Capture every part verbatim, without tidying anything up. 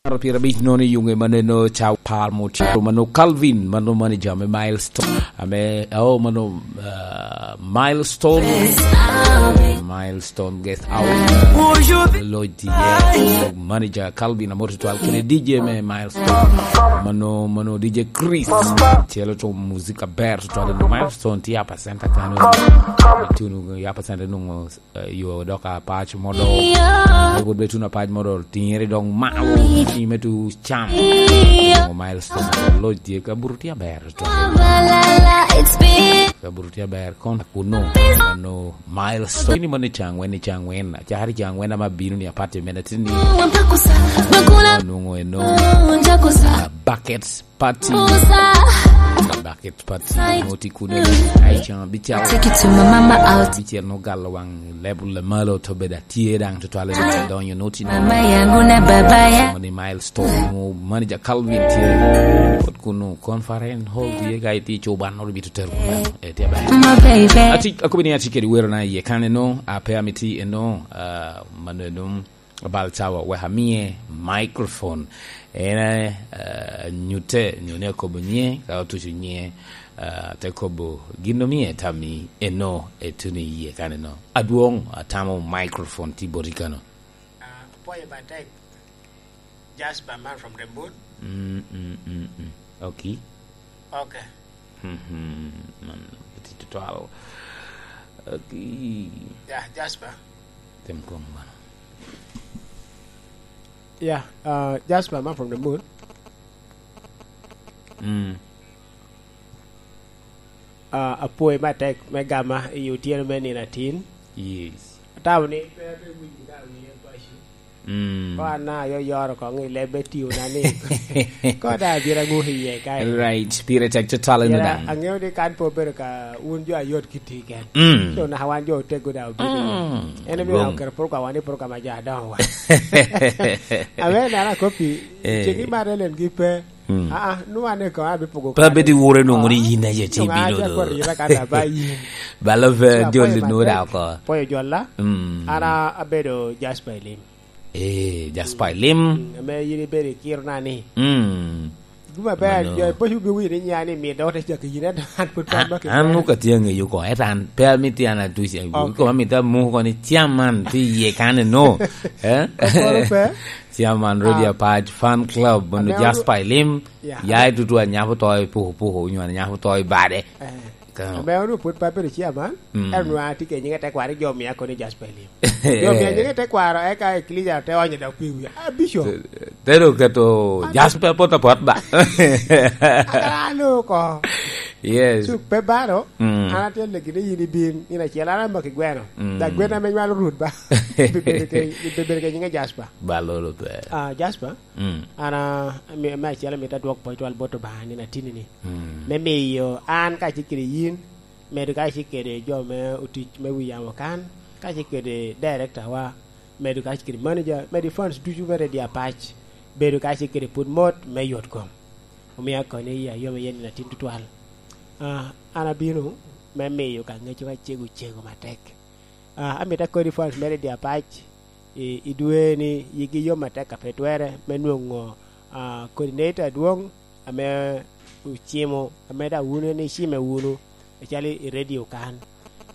Apar pyerabic nono i yuŋe maneno ca par mutye. Mano Calvin, mano manager me Milestone. Ame, oh, mano, ah, Milestone. Milestone Guest House. Lloyd, yeah. Manager Calvin Amor tutwal kede D J me Milestone. Mano, mano D J Chris. Celo to muzika ber tutwal. Milestone tye Upper Center kano. Tunu Upper Center nungo eh, yo dok apac modol. Pwod bedo tuno apac modol, tiŋere dok malo, tiŋe me tu cam. Onongo Milestone, loc tye, kabuto tye aber, tutwal. Kabuto tye aber, kon kuno, ano Milestone. Ni mano i Cangwen, i Cangwen, acakere i Cangwen ama bino ni apati mene tini. Onongo eno, ah, buckets, Party. Bucket party. Noti kuno. Ai, can abical. Take it to my mama out. Abical no galo wang level le malo to beda tie dang to twale donyo noti. Mama yangu na baba ya. Moni Milestone, mo manager Calvin tie. Kot kuno conference hall die ga iti chuban no bito tero. E tie ba. My baby. Ati, akobi ni ati kedi wero na ye kane no, ape amiti eno, ah, mano eno. Bal cawa wek amie microphone. En, eh, nyutte, nyo ni akobo nyiŋe, ka otuco nyiŋe, eh, te kobo gin omie tammi eno, etuno i yie kaneno. Adwoŋ, atamo microphone tye boti kano. Ah, apwoyo matek. Jasper, man from the moon. Mm, mm, mm, mm. Okay. Okay. Mhm, man, iti tutwal. Okay. Yeah, Jasper. Tim kong bana. Yeah, uh, Jasper, man from the moon. Mm. Uh, apwoyo matek me gama i otyeno me nino atin. Yes. Atamo ni pe abe winyo ka wiye paco. Mm. Ko an na ayo yoro koŋ i lebbe tio na ni. Ko da abira ŋuki iye kae. Right, pire tek tutwal eno. Pira daŋ. Aŋeo ni kan pe obedo ka wun jo ayot ki ti ken. Mm. So naka wan jo otego da obino. Mm. En omio oketo program wa ni program a jo adoŋo wa. Awe nara kopi, eh, cegi mar elen gi pe. Mm. Ah, ah, nu ane ko, abe pogo. Pe abedo i woro nongo ni yin aye ci bino do. Balo fe jol no da ko. Poyo jolla. Mm. Ana abedo Jasper Elim. Eh, Jasper Elim. Mm, ame yin ibedo i kiro na ni. Mm. Guma ber, jo poco bi wiri nya ni mi dok te cak yin, ento an pwod pe amaki. An muka tye aŋeyo ko, ento an pe amiti an atuc, ko amito amuko ni chairman ti iye kane no. Eh? Okoro pe. Chairman Rodi Apac Fan Club, mono Jasper Elim, ya i tutu anyako to i puko puko, onyo anyako to i bade. Eh. Ame onwo pwod pe abedo chairman, mm, ento nwa atye ke nyinge tekwaro, jo mia koni Jasper Elim. Jo mia nyinge tekwaro, eka eklisia te onyo dok pi wiya. Ah, Bishop. Te do keto Jasper pot apot ba. Akara alo ko. Yes. Cuk pe baro, mm, an atye legi ni yin ibin, in acel, an amaki gweno. Mm. Da gweno ame nywalo rut ba. Ibebedo ke, ibebedo ke nyinge Jasper. Balolo pe. Ah, Jasper. Mm. An, ah, me, me acel amito adwok pwony twal bot Obaŋa nino atinni ni. Mm. Me miyo an kacel kede yin, medo kacel kede jo me otic me wi yamo kan, kacel kede director wa, medo kacel kede manager, medo fans ducu me Radio Apac, bedo kacel kede pwod mot me yot kom. Omio akoni i ayom iye nino atin tutwal. Ah, an abino me miyo ka ŋeco ka cego cego matek. Ah, amito akodi fans me Radio Apac i, i dwe ni yigi yom atek a pe twere me nwoŋo, ah, coordinator adwoŋ ame ocimo, ame daŋ wun en icime wunu, acalo i radio kan.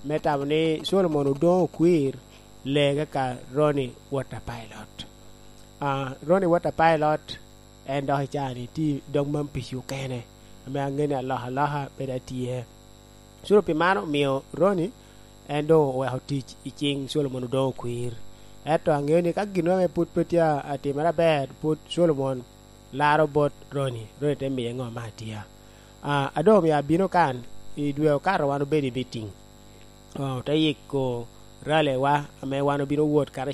Me tamo ni Solomon Odoŋo Okwir, lee kaka Ronnie Water Pilot. Ah, Ronnie Water Pilot, en dok i caa-ni tye i dog man pici okene, ame aŋeo ni alokaloka pe daŋ tye. Curo pi mano omio Ronnie en doŋ oweko tic i ciŋ Solomon Odoŋo Okwir. Ento aŋeo ni ka gin ame pwod pe tye atimere aber, pwod Solomon laro bot Ronnie, Ronnie te miye ŋo me atia. Ah, a doŋ omio abino kan, i dwe okato wan obedo i meeting. Ah, ote yiko rally wa ame wan obino wot karacel